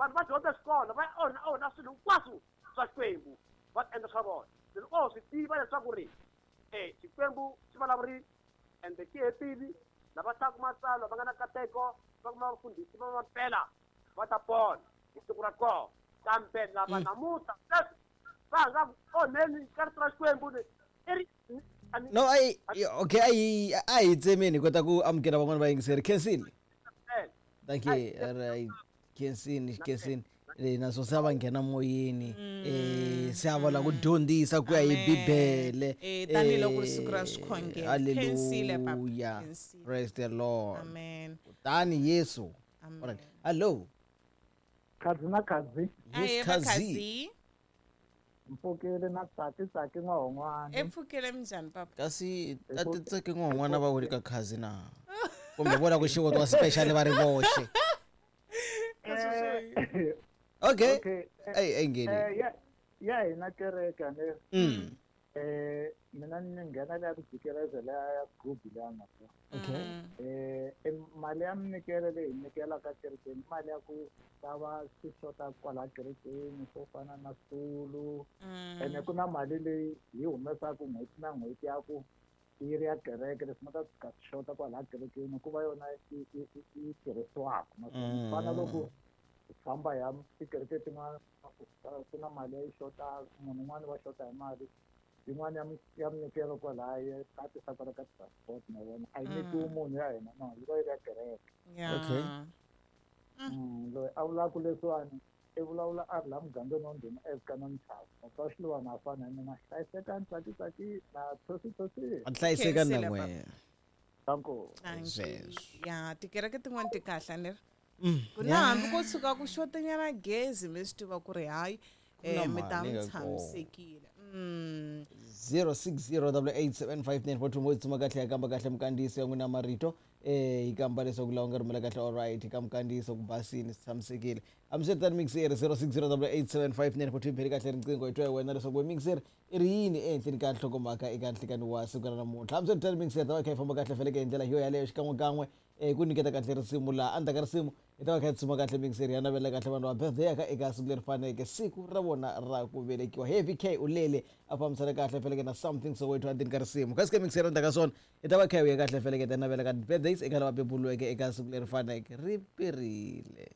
Vanhu va dyondza xikolo va onha onha swilo hinkwaswo swa Xikwembu va endla swa vona. Loko o swi tiva leswaku ri Xikwembu xi vulavurile ende xi hetile, lava hlayaka matsalwa va nga na nkateko va kuma vafundhisi va mampela va ta pona hi siku ra kona. Kambe lava namuntlha sweswi va nga ku onheni ka rito ra Xikwembu ni i ri no a okay a hi tsemeni hi kota ku amukela van'wana vayingiseri. Khensile. Thank you. Right. Khensini, khensini. Naswo se a va nghena moyeni se a va lava ku dyondzisa ku ya hi Bibele. Tanihiloko siku ra swikhongelo. Khensile papa. Hallelujah. Khensile. Praise the Lord. Amen. Kutani Yesu. Amen. Alright. Hello. Khadzi na khadzi. Yes, Khazi. Mpfukile na tsaki tsaki n'wahon'wana. Epfukile minjhani papa? Kasi a ti tsaki n'wahon'wana va wuli ka Khazi na. Kumbe vona ku xivotwa special va ri voxe. Okay. Okay. Ey, ey ngheni. Ya hina kereke ne. Mina ni nghena leya ku jikeleza leya ya gubi leya nga kona. Okay. Mali ya minyikelo leyi hi nyikelaka kerekeni, mali ya ku xava swi xota kwala kerekeni swo fana na switulu. Ene ku na mali leyi hi humesaka n'hweti na n'hweti ya ku yi ri ya kereke, leswi nga ta tshuka swi xota kwala kerekeni ku va yona yi tirhisiwaka. Naswona fana loko hi famba hi ya tikereke tin'wana ku na mali ya yi xota, munhu un'wana wa xota hi mali yin'wana ya minyikelo kwalaya ya tatisa kwala ka transport na vona a yi nyikiwi munhu ya hina, no yi va yi ri ya kereke. Okay. Loyi a vulaka leswiwani i vulavula a ri laha mugangeni wa ndhuma evuka na Mchava. Papa Xiluvana a fana na mina, hlayisekani tsaki tsaki na thosi thosi. A hlayisekani na Khensile, n'wehe. Danko. Thank you. Sweswo. Ya, tikereke tin'wana ti kahle ni ri. Ku na hambi ko tshuka ku xotanyana gezi mi swi tiva ku ri hayi na mi ta mali mi ka tshamisekile. 0608875942 mo tsuma kahle ya kamba kahle mkandziyiso ya n'wina marito hi kamba leswaku lawa nga rhumela kahle all right ka mkandziyiso ku basini swi tshamisekile. Hambiswiritano mixer 0608875942 pheli kahle riqingho hi twa hi wena leswaku we mixer i ri yini ehenhleni ka nhlokomhaka eka nhlikani wa siku ra namuntlha. Hambiswiritano mixer ta va kha yi famba kahle feleke hi ndlela yo yaleyo xikan'wekan'we ku nyiketa kahle risimu laha endzhaku ka risimu hi ta va kha hi tsuma kahle mixer ya navela kahle vanhu va birthday ya ka eka siku leri faneleke siku ra vona ra ku velekiwa. Heavy K u lele a fambisana kahle feleke na Something Soweto endzeni ka risimu. Kasi ka mixer endzhaku ka swona hi ta va kha hi vuya kahle feleke ta navela ka birthdays eka lava beburiweke eka siku leri faneleke ri perile.